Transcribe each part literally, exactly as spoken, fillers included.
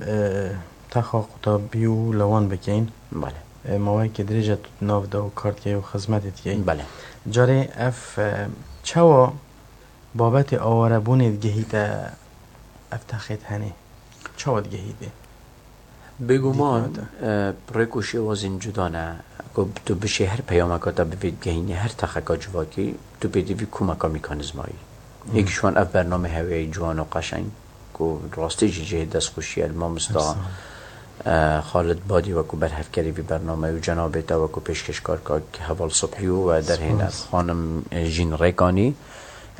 e, texa qutabî û lewan bikeyin. Belê. E, maweyekê dirêj e tu di nav de û kar dikey û xizmetê dikey. Belê. Carê ev, e, çawa babetê awarebûnê digehîte ev texê di henê? Çawa digehîte? Bêguman, Dîtina te. e, rêk û şêwazên cuda ne. Ku tu bişê her peyameka te bivê digehînî her texeka civakî, tu pêdivî komeka mîkanîzmayî. Yek ji wan ev bername heweyê ciwan û qeşeng, ku rastî jî cihê destxweşiyê li mamosta, Sağ ol. e, Xalid Badî wekû berhevkerê vî bername û cenabê te wekû pêşkêşkar kak Heval Subhî û we derhêner Spas. Xanim, e, Jîn Rêkanî.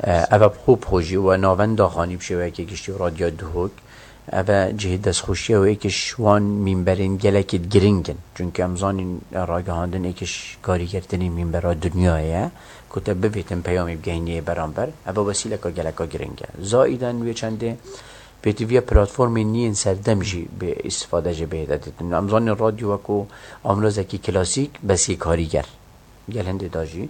E, ev e bi xwe bi xwe jî we navenda xanî bi şêweyekê giştî û Radyo Duhok. Ev e cihê destxweşiya wê êkiş wan mînberên gelekî giring in. Çunke em zanîn ragihandin êkiş karîgertinê mînbera dinyayê ye. Ku te bivêtin peyamê bigehîniyê beramber. Ev e wesîleka geleka giring e. Zayiden wê çendê pêtiviya platformên nî yên serdem jî bi îstifade jê bihête dîtin. Em zanîn radyo wekû amrazekî klasîk, bes yê karîger. Gel hindê da jî,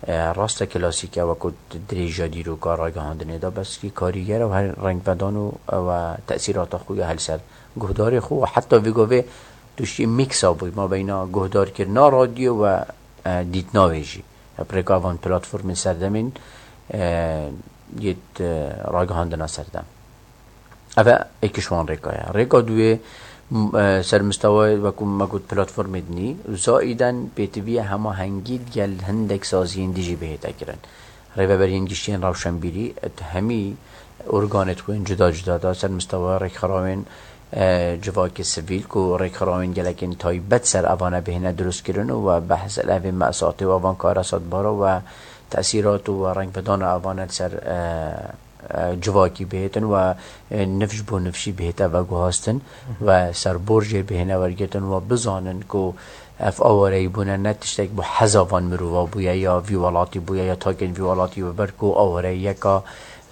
e, rast e klasîk e, wekû dirêja dîroka ragihandinê de, bes kî karîger e û her rengvedan û ew e tesîrata xwe ya hel ser guhdarê xwe û heta vê govê tu şî mîksa bûy mabeyna guhdarkirina radyo û, e, dîtina wê jî. Bi rêka van platformên serdemên, e, yêt, e, ragihandina serdem. Ev e êkiş wan rêka ye. Rêka duyê, m-, e, ser mistewa wekû me got platformê dinî û zayiden pêtiviye hemahengî digel hindek saziyên dî jî bihête kirin. Rêveberiyên giştiyên rewşenbîrî, e, hemî organê xwe yên cuda cuda da ser mistewa rêkxirawên, e, civakê sivîl ku rêkxirawên gelekên taybet ser evane bihêne dirustkirin û we behs li evên me'satê û evan karesatbara we tesîrat û we rengvedana evane li ser, e, e, civakî bihêtin we, e, nifş bo nifşî bihête veguhastin we serbor jê bihêne wergirtin we bizanin ku ev awareyî bûne ne tiştek bo heza van mirova bûye ya vî welatî bûye ya takên vî welatî we ber ku awareyî yeka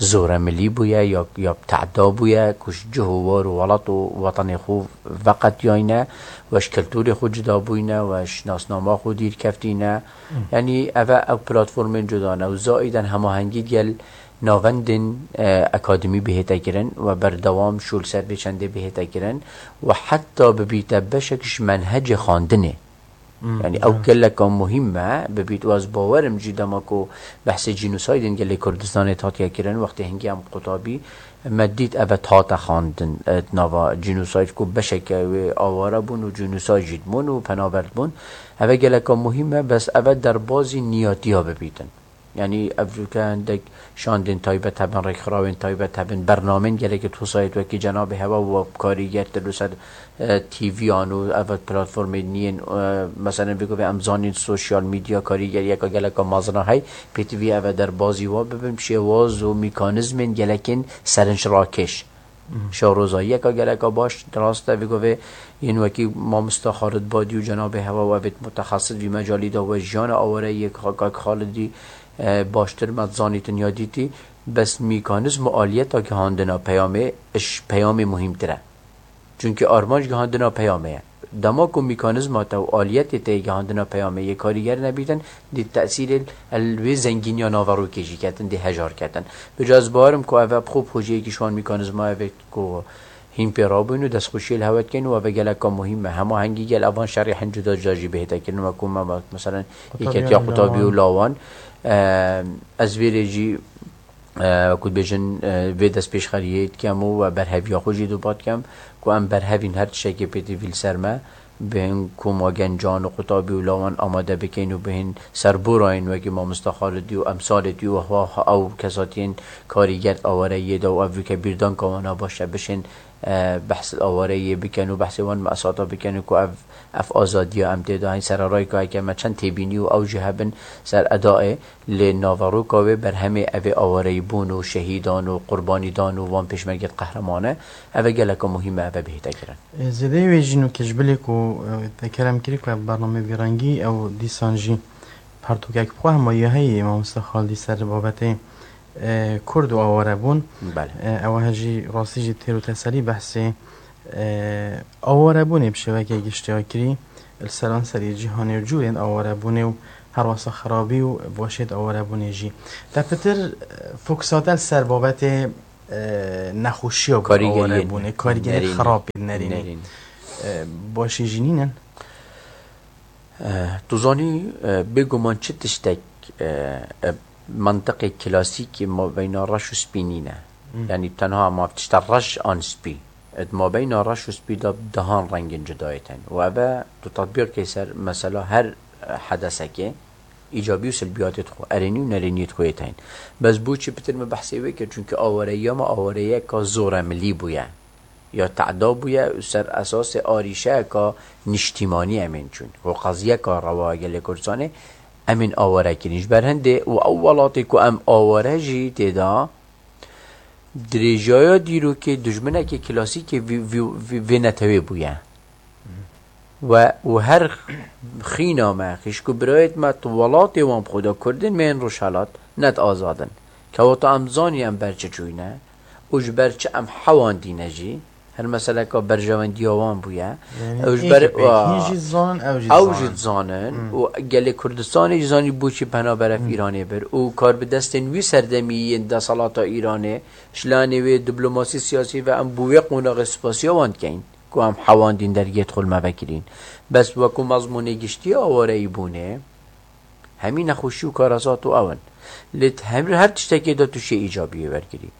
zoremilî bûye ya, ya tehda bûye ku ji cih û war û welat û wetanê xwe veqetiyayne we ji kulturê xwe cuda bûyne we ji nasnama xwe dîr keftîne. Yanî ev e ew platformên cuda ne û zayiden hemahengî digel navendên, e, akademî bihête kirin we berdewam şûl ser vê çendê bihête kirin we heta bibîte beşek ji menhecê xwendinê. Hmm, Yanî ew evet. geleka muhîm me bibît û ez bawer im jî dema ku behsê cînosaydên gelê Kurdistanê hatiye kirin, wextê hingî em qutabî me dît ev e hate xwendin, e, di nava cînosayd ku beşeke wê aware bûn û cînosayd jî dibûn û penaber dibûn. Ev e geleka muhîm e, bes ev e derbazî niyatiya bibîtin. Yanî ev ke hindek şandên taybet hebin, rêkxirawên taybet hebin, bernamên gelekî tosayet wekî Cenabê Hewa û karîger tu li ser, e, T V'yan û ev platformên nî yên, e, meselen vê govê em zanîn sosyal medya karîgeriyeka geleka mezin a hey, pêtivî ev e derbazî wa bibin, bi şêwaz û mekanîzmên gelekên serinşrakêş. Şewrozayiyeka geleka baş, rast e, vê govê yên wekî mamosta Xalid Badî û Cenabê Hewa û evêt mutexesis vî mecalî de we jiyana awareyê kak Xalidî, e, baştir me zanîtin ya dîtî, bes mîkanîzm û aliyeta gihandina peyamê, iş peyamê muhîmtir e. Çunkî armanc gihandina peyamê ye. Dema ku mîkanîzma te û aliyetê te yê gihandina peyamê yê karîger nebîtin, dê tesîrê li wê zengîniya naverokê jî ketin, dê hejar ketin. Bi ca ez bawerim ku ev e bi xwe bi xwe jî yekî ji wan mîkanîzmayê ve ku hîn pê rabûn û destxweşiyê li hewe dikin û ev e geleka muhîm e. Hemahengî gel evan şerê hin cuda cuda jî bihête kirin, wekû me, me, meselen, Qutabî Yeketiya û Qutabî û Lawan. Lawan. E, ez vê rê jî, e, wekû dibêjin, e, vê destpêşxeriyê dikem û we berheviya xwe jî duba dikem ku em berhevîn her tiştekê pêtivî li ser me. Bihên koma gencan û qutabî û lawan amade bikeyn û bihên serborayên wekî mamosta Xalidî û emsalê tî û hwa ew kesatiyên karîger awareyê de û ev wike bîrdanka wana baş e bişên, e, behs awareyê bikin û behsê wan me'sata bikin û ku ev, ev azadiya em tê de hên sererayka heke me çend têbînî û ew jî hebin ser edayê. Lê naveroka wê berhemê ev ê awareyîbûn û şehîdan û qurbanîdan û wan pêşmergên qehremane, ev e geleka muhîm e, ev e bihête kirin. Ê, zêdeyê wê jî nû ke ji bilê ku, e, te kerem kirî ku ev bername vî rengî ew dîsan jî pertûkek bi xwe hema ya heye mamoste Xaldî ser babetê, e, Kurd û awarebûn. Belê. E, ew he jî rastî jî têr û teselî behsê, e, awarebûnê bi şêwekê giştî ya kirî li seranserê cîhanê û cûrên awarebûnê û herwesa xerabî û weşêt awarebûnê jî. Te pitir, e, fokusa te li ser babetê, e, nexweşiya ku Karîgeriyê awarebûnê, karîgeriyê nerîn. Xirabê nerînî. Nerîn. E, başê jî nînin. E, tu zanî, e, bêguman çi tiştek, e, e, mantiqê klasîkî mabeyna reş û spî nîne. Hmm. Yanî tenha ma tişta reş an spî. Di mabeyna reş û spî de dehan rengên cudayê tên. Û eve tu tetbîq key ser mesela her, e, hedesekê, îcabî û silbiyatê xwe, erênî û nerêniyê xwe yê tên. Bes bo çi pitir me behsê wê kir? Çunke awareyiya me awareyeka zoremilî bûye. Ya teda bûye û ser esasê arîşeyeka niştîmanî em ên çûn. Ku qeziyeka rewa gelê Kurdistanê em ên aware kirîn. Ji ber hindê û ew welatê ku em aware jî tê de, dirêjaya dîrokê dijminekê klasîkê vî, vî, vî, vê netewê bûye. We û her xîna me, xîşk û birayêt me, tu welatê wan bi xwe de Kurdin, me yên Rojhelat, net azad in. Kewata em zanî em ber çi çûyne û ji ber çi em hewandîne jî, her meseleka berjewendiya wan bûye. Yanî Ew ji ber, êkê pêk hîn jî zanin, ew jî ew zanin. Jî dizanin Hmm. û gelê Kurdistanê jî zanî bo çi penaber ev Hmm. Îranê bir û kar bi destên wî serdemî yên deselata Îranê, ji lanê wê diplomasî siyasî ve em bo wê qonaxê spasiya wan dikeyn ku em hewandîn dergê dixul me vekirîn. Bes wekû mezmûnê giştî awareyî bûnê, hemî nexweşî û karasat û ew in. Lê di hemî her tiştekê de tu şê îcabiyê wergirî.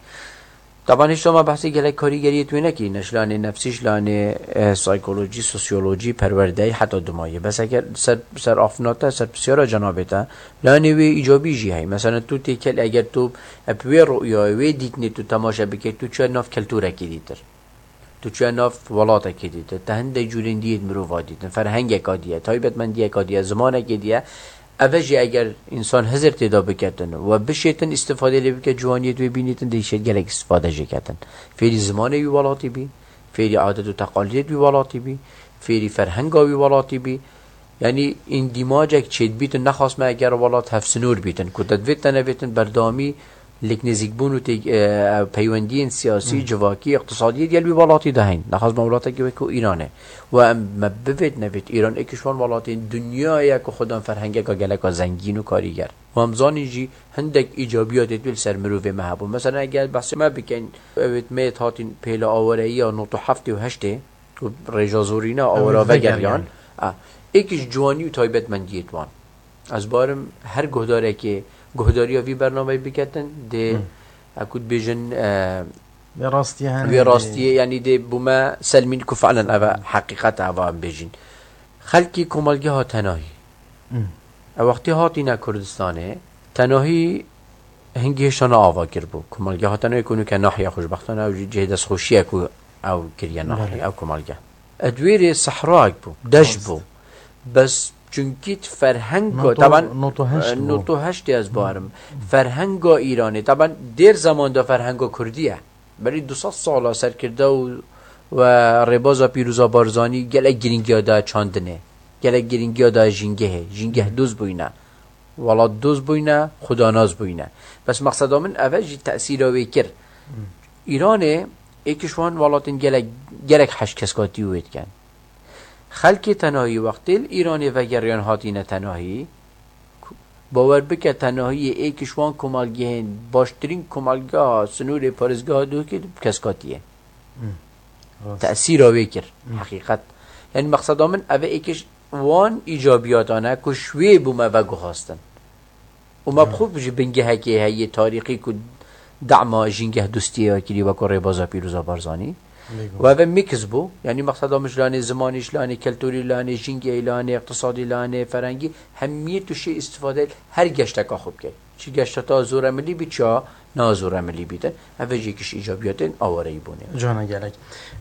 Taban hişta me behsê gelek karîgeriyê tu wê nekirî, ne ji lanê nefsî, ji lanê, e, saykolojî, sosyolojî, perwerdeyî heta dumayê. Bes eger ser, ser afna te, ser pisyara cenabê te, lanê wê îcabî jî heye. Mesela tu têkel, eger tu, e, bi wê ru'yayê, wê dîtinê tu temaşe bikey, tu çûye nav keltûrekî dîtir. Tu çûye nav welatekî dîtir. Te hindek cûrên dî yê di mirova dîtin. Ferhengeka dî ye, taybetmendiyeka dî ye, zimanekê dî ye. Eve jî eger însan hizir tê de biketin we bişêtin, îstifadê lê bike, ciwaniyê di wê bînîtin, dê şêt gelek îstifade jê ketin. Fêrî zimanê wî welatî bî, fêrî adet û teqalîdê wî welatî bî, fêrî ferhenga wî welatî bî. Yanî îndîmacek çêdibîtin, nexas me eger welat hevsinûr bîtin, ku te divêt te nevêtin berdewamî lêk nêzîkbûn û tê-, e, peywendiyên siyasî, Hmm. civakî, îqtisadî yê digel wî welatî de heyn. Nexas me welatekî wekû Îran e. Û em me bivêt nevêt Îran êk ji wan welatên dinyayê ye ku xwedan ferhengeka geleka zengîn û karîger. Û em zanîn jî hindek îcabiyatê tu li ser mirovê me hebû. Mesela eger behsê me bikeyn, ewêt me yêt hatîn pêla awareyiya nod û heftê û heştê, ku rêja zorîna Ew awara ê vegeriyan. Vegeriyan. A, êk ji ciwanî û taybetmendiyê wan. Ez barim her guhdarekê guhdariya vî bernameyê biketin, dê, Hmm. e, ku dibêjin, e, Vê rastiyê hene vê dê. Rastiyê, yanî dê bûme selmîn ku fi'len eve heqîqet e, eva em bêjin. Xelkî komelgeha tenahî. Hmm. E, wextê hatîne Kurdistanê, tenahî hingî hêşta ne ava kiribû. Komelgeha tenahî ku nûke nahiya xweşbextane ew jî cihê destxweşiyê ku ew kiriye nahiye, Belê. Ew komelge. E, di wê rê sehrayek bû, deşt Rast. Bû. Bes çunkî di ferhenga, Nod û, taban, nod û heşt e, bû. Nod û heştê ez barim. Ferhenga Îranê, taban, dêr zeman de ferhenga Kurdî ye. Berî du sed sala serkirde û, we rêbaza pîroza Barzanî gelek girîngiya daye çandinê. Gelek girîngiya daye jîngehê. Jîngeh doz bûyne. Welat doz bûyne, xudanas bûyne. Bes mexseda min ev e jî tesîra wê kir. Îranê êk ji wan welatên gelek, gelek heş keskatî wê dikin. Xelkê tenahî wextê li Îranê vegeriyan hatîne tenahî, bawer bike tenahiyê êk ji wan komelgehên baştirîn komelgeha sinûrê parêzgeha Dûkê bi keskatiyê. Hmm. Rast. Tesîra wê kir, Hmm. Heqîqet. Yanî mexseda min ev e êk ji wan îcabiyatan e ku ji wê bû me veguhastin. Û me bi xwe ji bingehekê heye tarîxî ku dema jîngeh dostiyê kirî weko rêbaza pîroza Barzanî. Bêguman. Û ev e mix bû. Yanî mexseda min ji lanê zimanî, ji lanê keltûrî, lanê jîngehê, lanê îqtisadî, lanê ferhengî, hemiyê tu şê îstifade her geşteka xwe bikey. Çi geşta te zoremilî bî, çi ya na zoremilî bîtin. Ev e jî yek ji îcabiyatên awareyî bûnê. Cana gelek.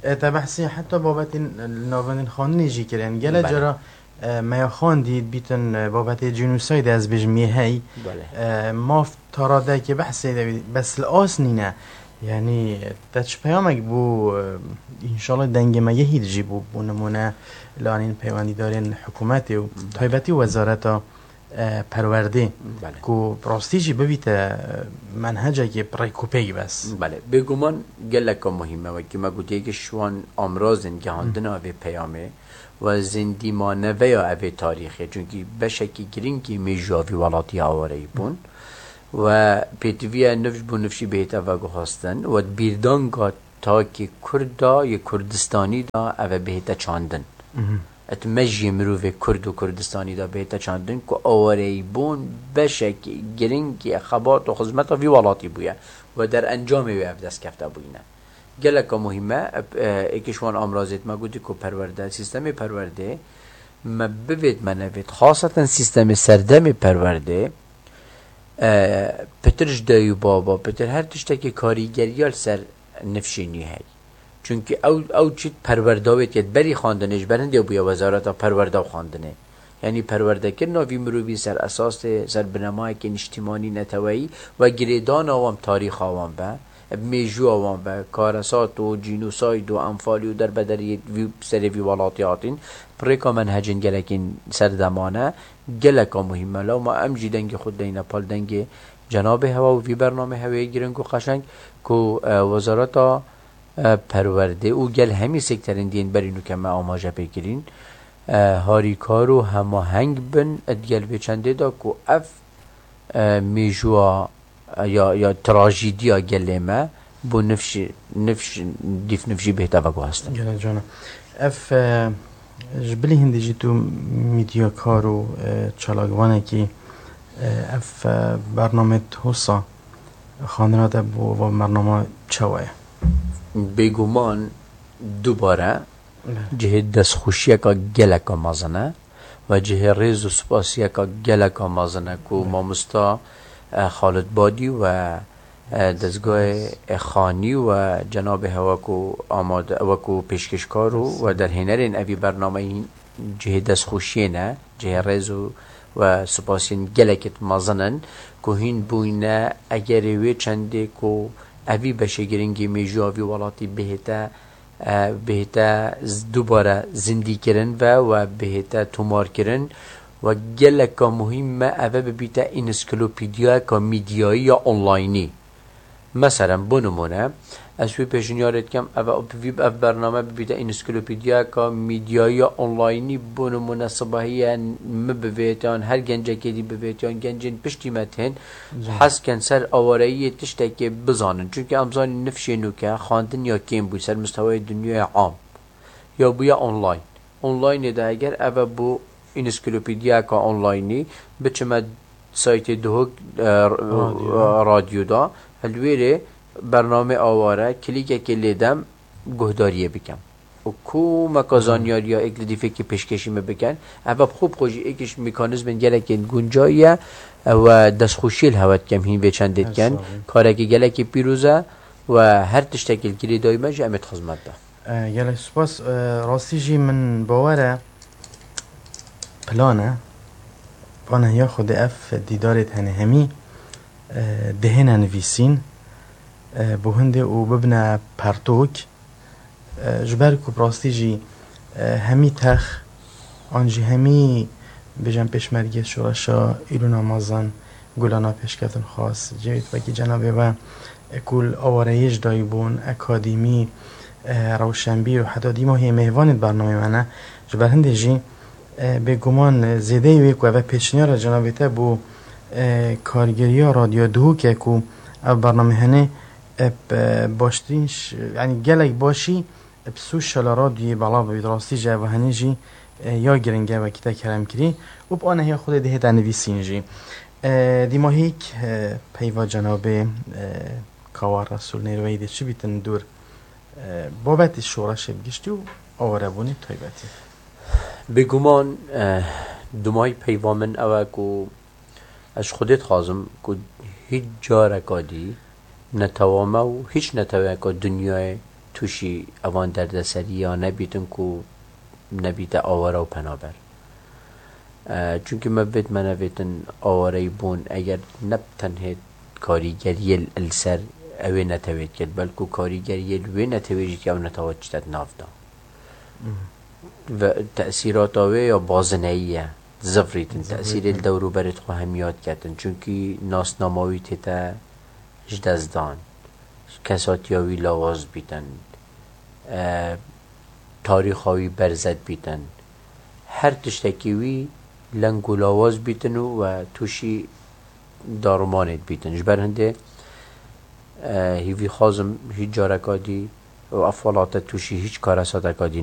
E, te behsî heta babetên li navendên xandinê jî kirin. Gelek Belê. Cara, e, me ya xandî dibîtin, e, babetê cînûsaydê ez bêjim yê hey. Belê. E, maf taradekê behsê de bî, bes li as nîne. Yanî te çi peyamek bû, e, înşallah dengê me yehî dijî bû, bû nimûne li anîn peywendîdarên hikûmetê û Belê. Taybetî wezareta e, perwerdê Belê. Ku bi rastî jî bibîte, e, menhecekê bi rêk û pêk bes. Belê, bêguman geleka muhîm e, wekî me gotiye ki ji wan amrazên gihandina vê peyamê we zindî maneveya evê tarîxê, çunkî beşekî girîngî mêjûya vî welatî awareyî bûn. We pêtiviya nifş bo nifşî bihête veguhastin, we di bîrdanga takê Kurd da, yê Kurdistanî da, ev e bihête çandin. Et mejiyê mirovê Kurd û Kurdistanî da bihête çandin ku awareyîbûn beşekî giringî xebat û xizmeta vî welatî bûye we derencamê wê ev destkefte bûyîne. Geleka muhîm e, e, êkê ji wan amrazêt me gotî ku perwerde, sîstemê perwerdê me bivêt me nevêt, xaseten sîstemê serdemê perwerdê, e, pitir ji dayî û baba, pitir her tiştekê karîgeriya li ser nifşê nû heye. Çunkî ew, ew çît perwerda wê tê berî xandinê ji ber hindê bûye Wezareta Perwerda û Xandinê. Yanî perwerdekirina vî mirovî ser esasê, ser binemayekê niştîmanî neteweyî ve girêdana wan bi tarîxa wan be, bi mêjûya wan be, karesat û cînosayd û enfalî û derbederiyê vî, serê vî welatî hatîn, bi rêka menhecên gelekên serdemane, geleka muhîm e. Lewma em jî dengê xwe dideyne pal dengê cenabê hewa û vî bernamê hewê giring û qeşeng ku, e, Wezareta, e, Perwerdê û gel hemî sekterên dî yên berî nûke me amaje pê kirîn, e, harîkar û hemaheng bin, e, di gel vê çendê de ku ev, e, mêjûa, e, ya, ya trajîdiya gelê me bo nifşî, nifş, dîf nifşî bihête veguhastin. Gelek cana. Ev, e, ji bilî hindî jî tu mîdyakar û, e, çalakvanekî, e, ev, e, bernamê Hosa xandina te bo va bernama çawa ye? Bêguman dubare Belê. cihê destxweşiyeka geleka mezin e ve cihê rêz û spasiyeka geleka mezin e ku Belê. mamosta, e, Xalid Badî ve, e, dezgahê, e, Xanî ve cenabê hewa ku amade, wekû pêşkêşkar û ve derhênerên evî bernameyî cihê destxweşiyê ne, cihê rêz û ve spasiyên gelekî mezin in ku hîn bûyne egerê wê çendê ku evî beşê giringî mêjûya vî welatî bihête, e, bihête z-, dubare zindîkirin ve we bihête tomarkirin we geleka muhîm me eve bibîte însiklopediyayeka mîdyayî ya onlaynî. Meselen, bo nimûne, ez wî pêşniyarê dikim, ev, vî, ev bername bibîte însiklopediyayeka mîdyayî ya onlaynî, bo nimûne, sibehiye min bivêt, yan her gencekê dî bivêt, yan gencên piştî me tên, Zor. hez ken ser awareyiyê tiştekê bizanin. Çunke em zanîn nifşê nûke, xandin ya kêm bû ser mistewayê dinyaya am. Ya bûye online. Onlineê de eger ev e bû însiklopediyayeka onlaynî, biçime saytê Duhok, e, r-, Radyo. e, radyo da, li wêrê bernamê aware, klîkekê lê dem, guhdariyê bikem. Û komeka Hı. zanyariya êk li dîfekî pêşkêşî me bikin. Ev e bi xwe bi xwe jî êk ji mekanîzmên gelekên guncayî ye. Ew e destxweşiyê li hewe dikem hîn vê çendê Her dikin. sağ olun. Karekî gelekî pîroz e û her tiştekî li girêdayî me jî em ê di xizmet de. E, gelek spas. E, rastî jî min bawer e, plan e, panehiya Xwedê ev dîdarê tenê hemî, e, dihêne nivîsîn, e, bo hindê û bibine pertok, e, ji ber ku bi rastî jî, e, hemî tex, an jî hemî, bêjin, pêşmergê şoreşa Îlona Mezin, Gulana Pêşketinxwaz, cihê wekî cenabê we, e, ku li awareyê ji dayî bûn, akademî, e, rewşenbîr û heta dîma hê mêvanê di bernameyê me ne. Ji ber hindê jî, e, bêguman, e, zêdeyî wê ku ev e pêşniyara cenabê te bo, e, kargeriya Radyo Duhok e ku ev bername hene, e, bi baştirîn ş-, yanî gelek başî, e, bi sosyal radyoyê belav bibît. Rastî jî ev hene jî, e, ya giring e wekî te kerem kirî. Û bi anehiya Xwedê dihête nivîsîn jî. E, dîmahîk, e, peyva cenabê, e, Kawa Resûl Nêrweyî dê çi bîtin dûr, e, babetê şoreşê bi giştî û awarebûnê bi taybetî? Bêguman, e, dumahî peyva min ew e ku ez ji Xwedê dixwazim ku hîç careka dî netewa me û hîç neteweyeka dinyayê tûşî evan derdeseriya nebîtin ku nebîte aware û penaber. E, çunkî me vêt me nevêtin awareyî bûn, eger ne bi tenhê karîgeriyê li ser ewê netewê dikir, belku karîgeriyê li wê netewê jî dike ew netewa çite di nav de. Mhm. Ve tesîrata wê ya bazineyî ye. Zivrîtin, Zivrîtin. tesîrê li dewrûberê xwe hemiya diketin. Çunkî nasnama wî tête ji dest dan. Kesatiya wî lawaz bîtin. E, tarîxa wî berzet bîtin. Her tiştekî wî leng û lawaz bîtin û we tûşî darumanê dibîtin. Ji ber hindê, e, hîvî xwazim hîç careka dî û ev welate tûşî hîç kareseteka dî